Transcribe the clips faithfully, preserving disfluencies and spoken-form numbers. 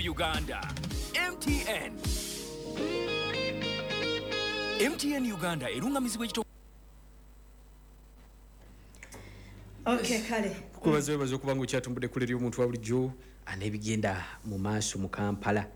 Uganda. M T N, M T N Uganda erungamizibwa ekito. Okay, kale. Kubaza, webaza okuba nga okyatumbudde kule eri omuntu wa bulijjo an'ebigenda mu maaso mu Kampala.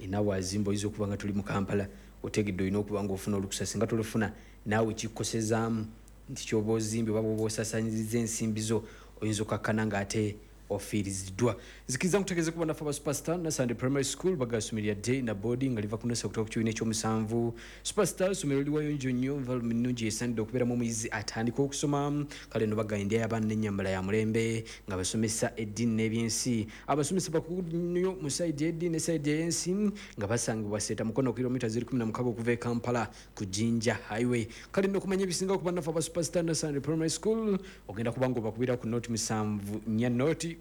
Enawazimba oyinza okuba nga tuli mu Kampala, otegedde, olina okuba nga ofuna olukusa. Singa tolufuna, naawe kikosezaamu nti kyoba ozimbye oba bwoba osasanyiriza ensimbi zo, oyinza okakkana ng'ate ofiiriziddwa. Nzikiriza nkutegeeze kuba naffe aba Superstar Nursery Primary School bagasumirya day na boarding nga liva ku nursery okutuuka ku kibiina ekyomusanvu. Superstar somero liwayo nnyo environment nnungi esaanidde okubeeramu omuyizi atandika okusoma. Kale no bagamba endya y'abaana n'ennyambala ya mulembe, nga basomesa eddiini n'ebyensi. Abasomesa bakugu nnyo mu side y'eddiini ne side ey'ensi, nga basangibwa Seeta, Mukono, kilomita ziri kumi na mukaaga okuva e Kampala ku Jinja Highway. Kale nno okumanya ebisinga okuba naffe aba Superstar Nursery Primary School, ogenda kuba nga obakubira ku noti musanvu nnya noti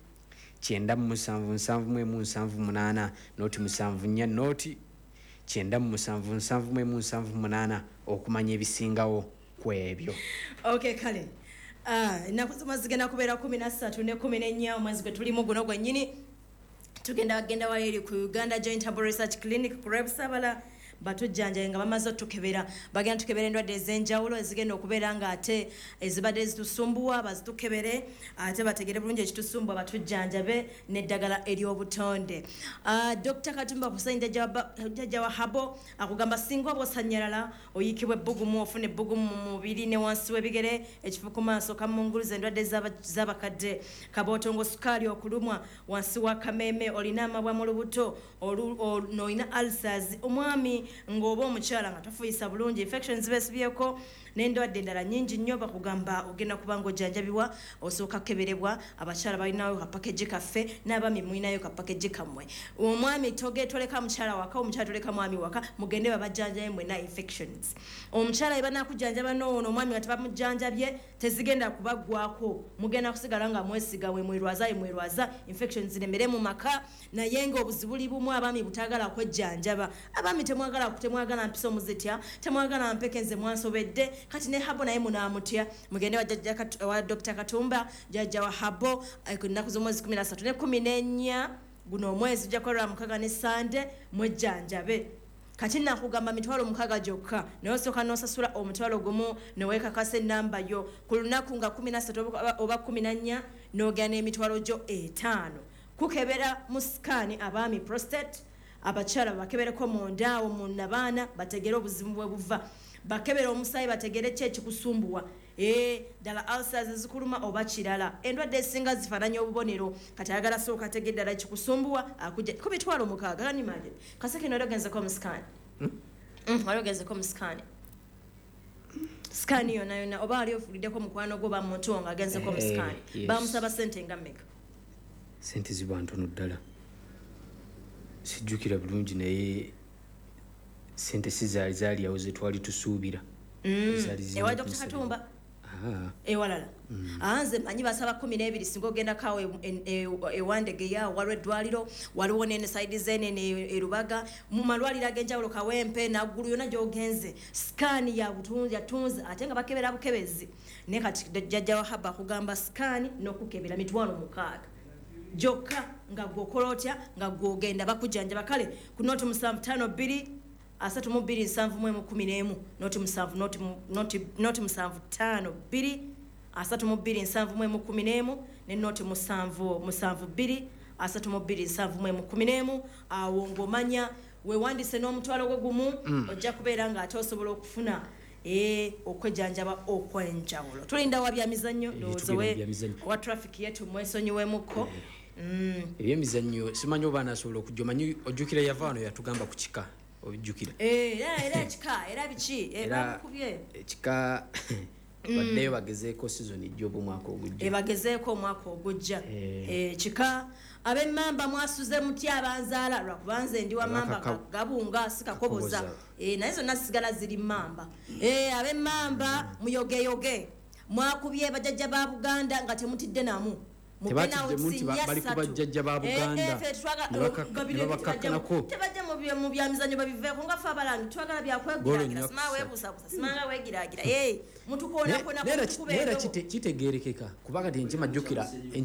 kyenda mu musanvu nsanvu mu emu nsanvu munaana, noti musanvu nnya noti kyenda mu musanvu nsanvu mu emu nsanvu munaana, okumanya ebisingawo ku ebyo. Okay, kale. Ah, ennaku z'omwezi zigenda kubeera kumi na ssatu ne kumi n'ennya omwezi gwe tulimu guno gwennyini. Tugenda genda wali eri ku Uganda Joint Herbal Research Clinic ku Lwebusabala, batujjanjabe nga bamaze otukebera. Bagenda tukebera endwadde ez'enjawulo ezigenda okubeera nga ate ezibadde zitusumbuwa, bazitukebere ate bategere bulungi ekitusumbuwa, batujjanjabe n'eddagala ery'obutonde. Ah, Doctor Katumba Hussein, jjajja wa herbal, akugamba singa oba osanyalala, oyiikibwa ebbugumu, ofuna ebbugumu mu mubiri ne wansi w'ebigere, ekifu ku maaso, kamunguluza, endwadde z'aba- z'abakadde, kabootongo, sukaali, okulumwa wansi wa kameeme, olina amabwa mu lubuto, olu- olu- n'olina ulcers, omwami ng'oba omukyala nga tofuuyisa bulungi, infections beesibyeko n'endwadde endala nnyingi nnyo. Bakugamba ogenda kuba nga ojjanjabibwa, osooka kukeberebwa. Abakyala balinayo ka package kaffe, n'abaami mulinayo ka package kammwe. Omwami toge toleka mukyala waka, omukyala toleka mwami waka, mugende babajjanjabe mwena infections. Omukyala ebanakujjanjaba noono, omwami nga tebamujjanjabye, tezigenda kubaggwako, mugenda kusigala nga mwesiga we mwerwaza we mwerwaza, infections ziremere mu maka. Naye nga obuzibu buli bumu, abaami butagala kwejjanjaba. Abaami temwagala, temwagala mpiso muzitya, temwagala mpeke, nze mwansobedde. Kati ne herbal naye munaamutya. Mugende wa jjajja Kat- wa Doctor Katumba, jjajja wa herbal, eh, ku nnaku z'omwezi kumi na ssatu ne kumi n'ennya guno omwezi, ujja kukolera mukaga ne Sande, mwejjanjabe. Kati nakugamba mitwalo mukaaga gyokka, naye osooka n'osasula omutwalo gumu neweekakasa enamba yo. Ku lunaku nga kumi na ssatu oba- oba kumi na nnya, n'ogenda n'emitwalo gyo etaano kukebera mu scan abaami prostate, abakyala bakebereko mundaawo mu nabaana, bategere obuzibu bwe buva, bakebere omusaayi, bategere ki ekikusumbuwa. Ee, ddala ulcers ezikuluma oba kirala. Endwadde ezisinga zifaananya obubonero. Kati ayagala sooka atege ddala ekikusumbuwa, akujja ku mitwalo mukaaga. Can imagine? Kaseke, wali ogenzeko mu scan? Mm, wali ogenzeko mu scan, scan yonna yonna, oba wali ofuliddeko mukwano gwo oba muntu wo nga agenzeko mu Eh, scan? Yes. Bamusaba sente nga mmeka? Sente ziba ntono ddala, sijjukira bulungi, naye sente si zaali zaali awo zetwali tusuubira. Zaali zirina Ewa Doctor kunsabira. Katumba? Ah, Ewalala? Ah, nze manyi basaba kumi n'ebiri. Singa ogendako ewandegeya, waliwo eddwaliro, waliwo nene side zenene erubaga, mu malwaliro ag'enjawulo, Kawempe, Naggulu, yonna gyogenze, scan ya butunzi yatunzi, ate nga bakebera bukebezi. Naye kati jjajja wa herbal akugamba scan n'okukebera mitwalo mukaaga gyokka, nga gwokola otya, nga gwogenda bakujjanjaba. Kale ku noti musanvu tano bbiri asatu mu bbiri nsanvu mu emu kumi n'emu, noti musanvu noti mu- noti- noti musanvu tano bbiri asatu mu bbiri nsanvu mu emu kumi n'emu ne noti musanvu musanvu bbiri asatu mu bbiri nsanvu mu emu kumi n'emu. Awo ng'omanya weewandise n'omutwalo gwo gumu, ojja kubeera ng'ate osobola okufuna eh, okwejjanjaba okwenjawulo. Tulinda wa byamizannyo. Eh, Ndowooza tugenda we- mu byamizannyo. Owa traffic yetu mwesonyiwemuko. Mm. Ebyemizannyo simanyi oba anasobola okujja. Omanyi ojjukira yava wano yatugamba ku kika, ojjukira? Eh, era era kika, era biki? Eh, Era bamukubye. Ekika baddeyo bagezeeko season ejja oba omwaka ogujja. Ebagezeeko omwaka ogujja. Eh. Eh, kika ab'emmamba mwasuze mutya? Abanzaala, lwakuba nze ndi wa mamba. Abakaka- Gabunga si Kakoboza. Kakoboza. Eh, naye zonna zisigala ziri mmamba. Eh, ab'emmamba muyogeyoge, mwakubye bajjajja ba Buganda nga temutidde namu. Mu Tebatidde penalty nti ba- nnya bali ku ssatu. bajjajja ba Eh, Buganda. eh, ffe twagala- Ne baka- Babiri ne bakakkanako. Tebajja mu bya- mu byamizannyo, babiveeko. Nga ffe abalangi twagala Goolo byakwegiragira. nnya Simanga ku weebuusabuusa, simanga weegiraagira. Eh, mutukoonakona. Naye era kitegeerekeka, kuba kati enkima, jjukira enkima.